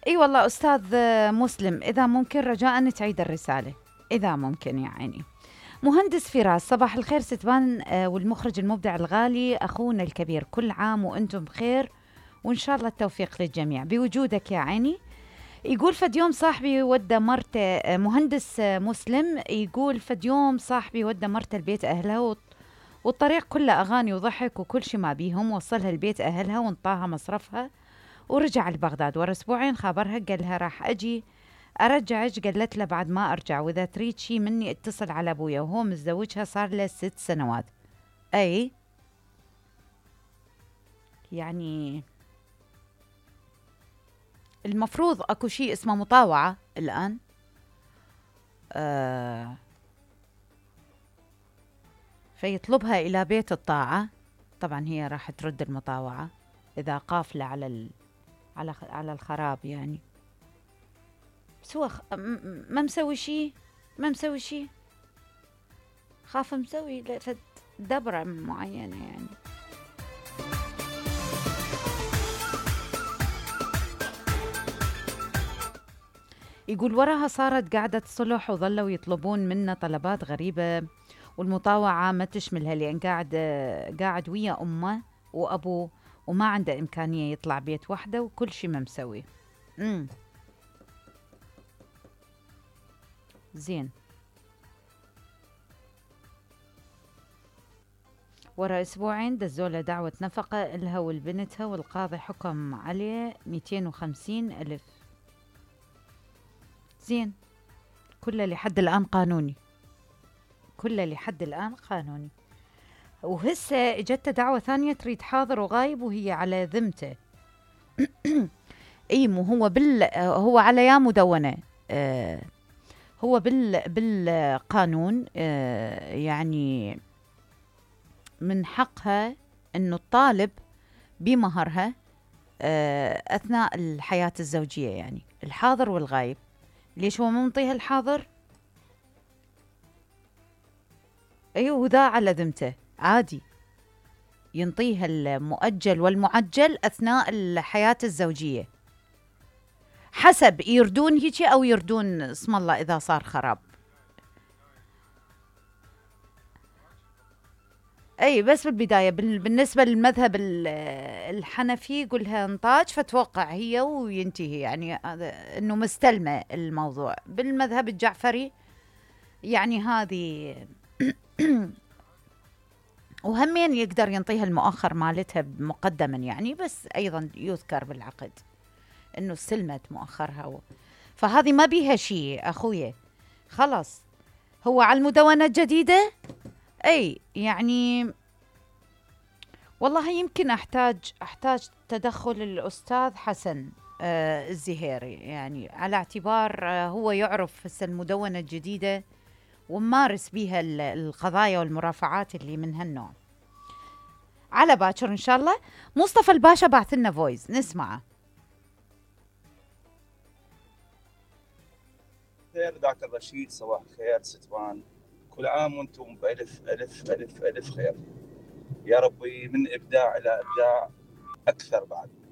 اي والله استاذ مسلم، اذا ممكن رجاء تعيد الرسالة، اذا ممكن يا عيني. مهندس فراس، صباح الخير ستبان والمخرج المبدع الغالي اخونا الكبير، كل عام وانتم بخير وان شاء الله التوفيق للجميع بوجودك يا عيني. يقول فد يوم صاحبي ودى مرته مهندس مسلم، يقول فد يوم صاحبي ودى مرته البيت اهلها والطريق كله اغاني وضحك وكل شي ما بيهم، وصلها البيت اهلها وانطاها مصرفها ورجع لبغداد. ورا اسبوعين خابرها قال لها راح اجي ارجعك، قالت له بعد ما ارجع، واذا تريد شي مني اتصل على ابويا، وهو متزوجها صار له 6 سنوات. اي يعني المفروض اكو شيء اسمه مطاوعة الان. فيطلبها الى بيت الطاعة، طبعا هي راح ترد المطاوعة اذا قافلة على الخراب يعني. بس هو ما مسوي شيء، ما مسوي شيء، خاف مسوي دبرة معينة يعني. يقول وراها صارت قاعدة صلح وظلوا يطلبون منا طلبات غريبة، والمطاوعة ما تشملها لأن قاعد ويا أمه وأبوه وما عنده إمكانية يطلع بيت وحده وكل شي ما مسوي. زين. ورا أسبوعين دزوله دعوة نفقة إلها والبنتها، والقاضي حكم عليه 250,000. زين، كله لحد الآن قانوني، كله لحد الآن قانوني. وهسه اجته دعوة ثانية تريد حاضر وغايب وهي على ذمته. اي مو هو هو على يا مدونة. هو بالقانون يعني من حقها انه تطالب بمهرها اثناء الحياة الزوجية، يعني الحاضر والغايب. ليش هو مو منطيها الحاضر؟ ايوه، وذا على ذمته عادي ينطيها المؤجل والمعجل اثناء الحياة الزوجية، حسب يردون هيجي او يردون اسم الله اذا صار خراب. اي بس بالبداية بالنسبة للمذهب الحنفي يقولها انطاج فتوقع هي وينتهي، يعني انه مستلمة الموضوع. بالمذهب الجعفري يعني هذه وهمين يقدر ينطيها المؤخر مالتها مقدما يعني، بس ايضا يذكر بالعقد انه استلمت مؤخرها فهذه ما بيها شيء اخويا، خلاص. هو على المدونة الجديدة اي يعني والله يمكن احتاج تدخل الاستاذ حسن الزهيري، يعني على اعتبار هو يعرف هسه المدونة الجديدة وممارس بيها القضايا والمرافعات اللي من هالنوع. على باكر ان شاء الله. مصطفى الباشا بعث لنا فويس نسمعه. خير ذاك الرشيد، صباح الخير ستبان، كل عام وانتم بألف ألف ألف ألف خير، يا ربي من إبداع إلى إبداع أكثر بعد.